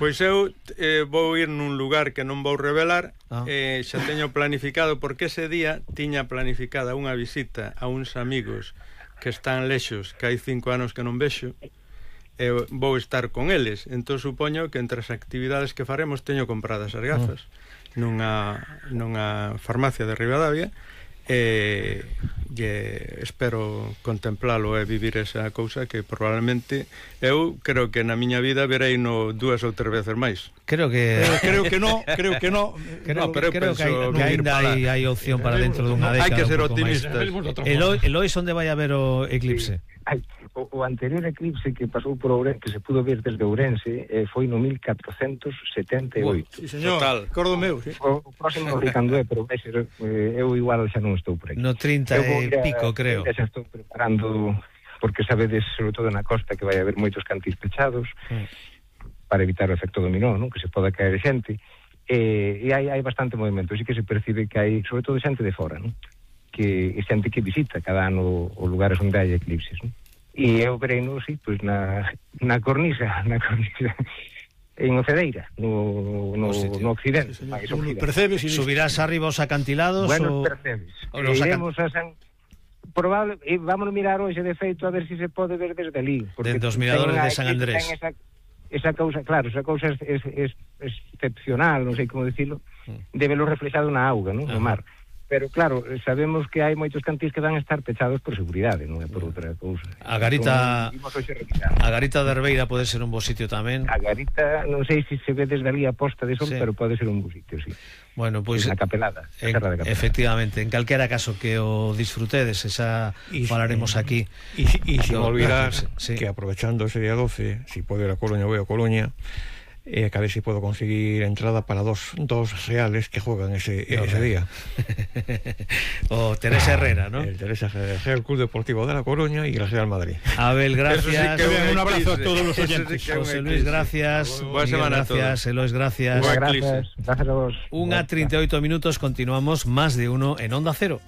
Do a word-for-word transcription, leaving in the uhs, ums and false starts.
Pois eu eh, vou ir nun lugar que non vou revelar, ah. eh, xa teño planificado, porque ese día tiña planificada unha visita a uns amigos que están lexos, que hai cinco anos que non vexo, e eh, vou estar con eles. Entón supoño que entre as actividades que faremos teño compradas as gafas ah. nunha, nunha farmacia de Ribadavia, e, e espero contemplalo e vivir esa cousa que probablemente eu creo que na miña vida verei no dúas ou tres veces máis. Creo que eh, creo que no, creo que no. Creo, no, pero creo que, hay, que ainda hai, hai opción para dentro dunha década. Hai que ser optimistas. Elois, Elois, onde vai a ver o eclipse? Sí. Ay, o, o anterior eclipse que pasou por Ourense, que se pudo ver desde Ourense, eh, foi no mil catrocentos setenta e oito. Sí, señor. Total. Cordo meu, sí. O, o próximo Ricando é, pero vai ser, eh, eu igual xa non estou por aquí. No trinta e pico, creo. Xa estou preparando, porque sabedes, sobre todo na costa, que vai haber moitos cantís pechados, mm. para evitar o efecto dominó, non? Que se poda caer xente. E, e hai, hai bastante movimento, así que se percibe que hai, sobre todo xente de fora, non? Que é xente que visita cada ano os lugares onde hai eclipses, non? E eu verei, non, sí, pois na, na cornisa, na cornisa, en Ocedeira, no, no, no occidente. Sí, máis occidente. Percebes, subirás arriba os acantilados? Bueno, o... percebes. O los iremos a San... Probable, e vamos a mirar hoxe de feito a ver se si se pode ver desde ali. Desde os miradores de San Andrés. Esa, esa cousa, claro, esa cousa é, é, é excepcional, non sei como dicilo, de velo reflexado na auga, non? No mar. Pero claro, sabemos que hai moitos cantís que van a estar pechados por seguridade, non é por outra cousa. A Garita A Garita de Herbeira pode ser un bo sitio tamén. A Garita, non sei se se ve desde ali a posta de sol, sí. pero pode ser un bo sitio, sí. Bueno, pois pues, na Capelada, en, Serra de Capelada. Efectivamente, en calquera caso que o disfrutedes, esa y, falaremos aquí. E se non olvidar sí. que aprovechando ese día doce, si puedo ir a Coruña, voy a Coruña. Eh, que a ver si puedo conseguir entrada para dos, dos reales que juegan ese, no, ese día. O Teresa Herrera, ¿no? El Teresa Herrera, el Club Deportivo de La Coruña y el Real Madrid. Abel, gracias. Sí, un abrazo a todos los oyentes. José Luis, gracias. Buena semana a todos. Gracias, Elois, gracias. Gracias. Gracias a vos. Una treinta y ocho minutos, continuamos más de uno en Onda Cero.